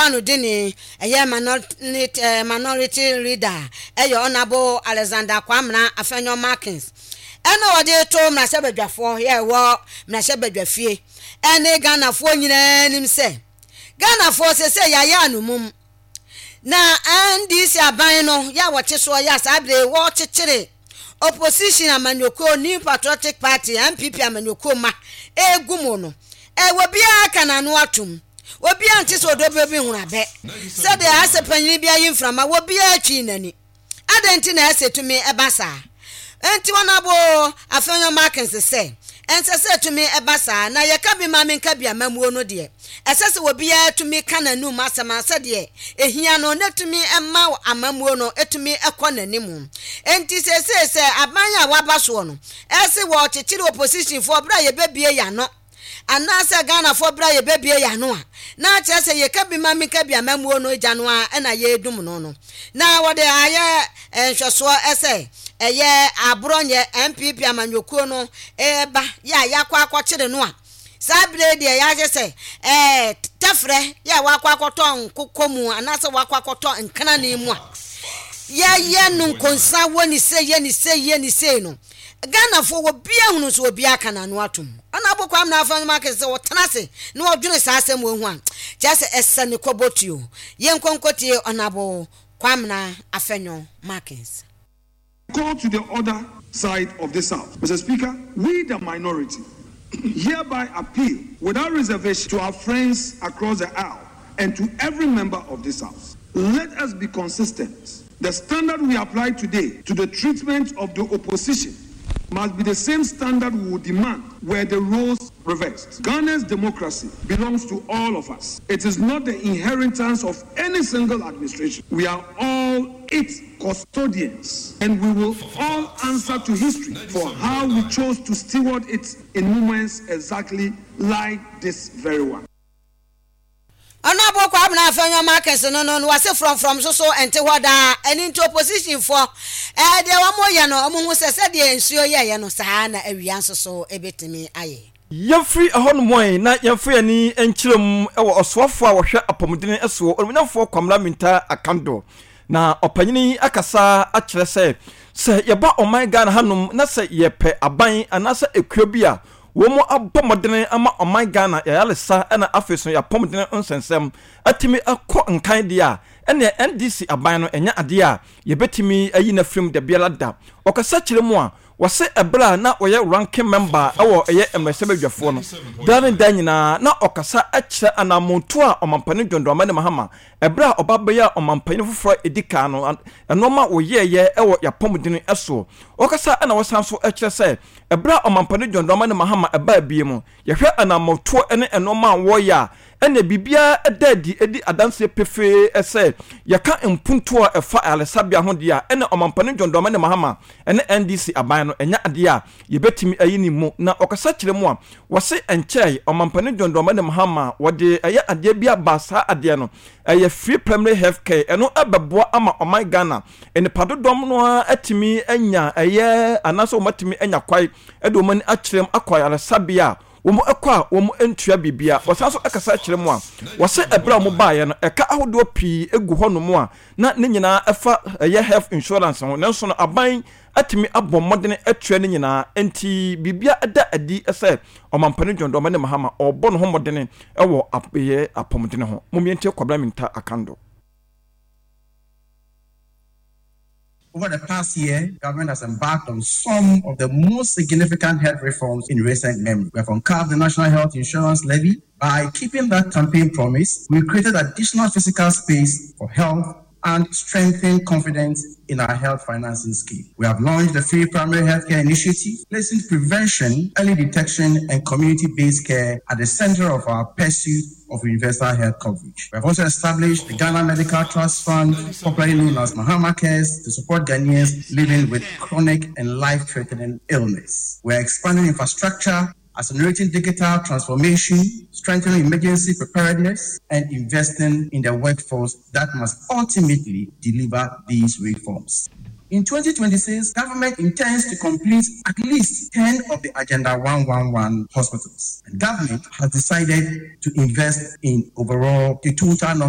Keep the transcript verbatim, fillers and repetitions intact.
Ba no dini ɛyɛ minority eh, minority leader, ɛyɛ Honourable Alexander Kwamina Afenyo Markins, ɛna wɔde to mmarahyɛbadwafoɔ yɛ ɛwɔ mmarahyɛbadwa ɛne Ghanafoɔ nyinaa anim sɛ Ghanafoɔ sɛ sɛ yɛayɛ anomum na N D C aban no yɛ a wɔte soɔ yɛ a saa bere wɔkyekyere opposition amanyɔkuo New Patriotic Party, N P P amanyɔkuo ma egu mu no, ɛwɔ biara ka n'ano atom. Obiara nte sɛ ɔdɔ bi hunu abɛ sɛdeɛ asɛ panyin bi ayi mframa, obiara twi n'ani. Adɛn nti na ɛsɛ tumi ɛba saa? Nti wɔn abo Afenyo Markins sɛ ɛnsɛ sɛ tumi ɛba saa na yɛka bi ma menka bi amamuo no deɛ, ɛsɛ sɛ obiara tumi ka n'anum asɛm a sɛdeɛ ehia no na tumi ɛma amamuo no etumi ɛkɔ n'anim. Nti sɛsɛ sɛ aban a waba soɔ no ɛsɛ wɔkyekyere opposition foɔ bere a yɛbɛbie yɛano anaasɛ Ghanafoɔ bere a yɛbɛbie yɛn ano a, na kyerɛ sɛ yɛka bi ma menka bi amamuo no gya no a ɛna yɛredum no no na wɔde ayɛ nhwɛsoɔ ɛsɛ ɛyɛ Aborɔnyɛ N P P amanyɔkuo no ɛɛba yɛ a yɛakɔ akɔkyere no a, saa bere deɛ yɛahyɛ sɛ ɛɛ tɛfrɛ yɛ a wakɔ akɔtɔ nkokɔ mu anaasɛ wakɔ akɔtɔ nkrane mu a yɛyɛ no nkonsa wɔ ne se yɛ ne se yɛ ne se no, Ghanafoɔ wɔ bia hunu so obiara ka n'ano atom. Ɔna abɔ Kwamina Afenyo Markins sɛ wɔtena ase na wɔdwene saa asɛm wɔ ho a, kyerɛ sɛ ɛsɛ ne kɔbɔtuo. Yɛnkɔnkɔtie Honourable Kwamina Afenyo Markins. Call to the other side of this House. Mister Speaker, we the minority hereby appeal without reservation to our friends across the aisle and to every member of this House. Let us be consistent. The standard we apply today to the treatment of the opposition must be the same standard we would demand were the roles reversed. Ghana's democracy belongs to all of us. It is not the inheritance of any single administration. We are all its custodians, and we will all answer to history for how we chose to steward it in moments exactly like this very one. Ɔno abɔ Kwabena Afenyo Markins no no no wɔse frɔmfrɔm so so ɛnte hɔ daa. Ɛne nti opposition foɔ ɛɛ deɛ wɔn yɛ no, wɔn ho sɛ sɛdeɛ nsuo yɛyɛ no saa na awia nso so ebetumi ayɛ. Yɛmfiri ɛhɔnom ɛ na yɛmfa yɛni nkyerɛ mu wɔ ɔsoafoɔ a wɔhwɛ apɔmuden soɔ, Onimuonyamfoɔ Kwamina Mintah Akandoh, na ɔpanyini akasa akyerɛ sɛ sɛ yɛba ɔman Ghana hanom na sɛ yɛpɛ aban anaasɛ ekuo bi a wɔn abɔ mmɔden ama ɔman Ghana yɛayaresa ɛna afei so yɛapɔmuden nsɛnsɛm atumi akɔ nkan deɛ a, ɛnna N D C aban no ɛnyɛ adeɛ a yɛbɛtumi ayi n'afirim da biara da. Ɔkasa kyerɛ mu a, wɔsɛ ɛberɛ a na wɔyɛ ranking member ɛwɔ ɛyɛ mmarahyɛbadwafoɔ no, daa ne da nyinaa na ɔkasa kyerɛ anammɔntuo a Ɔmampanin John Dramani Mahama ɛberɛ a ɔba bɛyɛ ɔmampanin foforɔ a ɛdi kan no, ɛnɔɔma wɔyɛɛyɛ ɛwɔ yɛapɔmuden ɛsoɔ. Ɔkasa ɛna wɔsan so kyerɛ sɛ ɛberɛ a Ɔmampanin John Dramani Mahama ɛbaa bie mu, yɛhwɛ anammɔtoɔ ne ɛnɔɔma a wɔreyɛ a, ɛna biribiara ɛda adi ɛdi adanseɛ pefee sɛ yɛka mpuntuo a ɛfa ayaresabea ho deɛ a, ɛna Ɔmampanin John Dramani Mahama ɛne N D C aban no ɛnyɛ adeɛ a yɛbɛtumi ayi ne mu. Na ɔkasa kyerɛ mu a, wɔse nkyɛe Ɔmampanin John Dramani Mahama wɔde ɛyɛ adeɛ bi aba. Saa adeɛ no ɛyɛ free primary health care. Ɛno ɛbɛboa ama ɔman Ghana nipa dodɔm no ara atumi anya ɛyɛ anaasɛ wɔn atumi anya kwae ɛde wɔn ani akyerɛ mu akɔ ayaresabea a wɔn kɔ a wɔn ntua biribia. Wɔsan so kasa kyerɛ mu a, wɔsɛ ɛberɛ a wɔn baeɛ no, ɛka ahodoɔ pii egu hɔnom a na ne nyinaa ɛfa ɛyɛ health insurance ho, nanso no aban atumi abɔ mmɔden atua ne nyinaa. Nti biribia ɛda adi sɛ Ɔmampanin John Dramani Mahama ɔrebɔ ne ho mmɔden ɛwɔ ɛyɛ apɔmuden ho. Momiɛntie Kwabena Mintah Akandoh. Over the past year, government has embarked on some of the most significant health reforms in recent memory. We have uncapped the National Health Insurance Levy. By keeping that campaign promise, we created additional fiscal space for health and strengthened confidence in our health financing scheme. We have launched the Free Primary Healthcare Initiative, placing prevention, early detection, and community based care at the center of our pursuit of universal health coverage. We have also established the Ghana Medical Trust Fund, popularly known as Mahama Cares, to support Ghanaians living with chronic and life threatening illness. We are expanding infrastructure, accelerating digital transformation, strengthening emergency preparedness, and investing in the workforce that must ultimately deliver these reforms. In twenty twenty-six, government intends to complete at least ten of the Agenda one one one hospitals. And government has decided to invest in overall the total number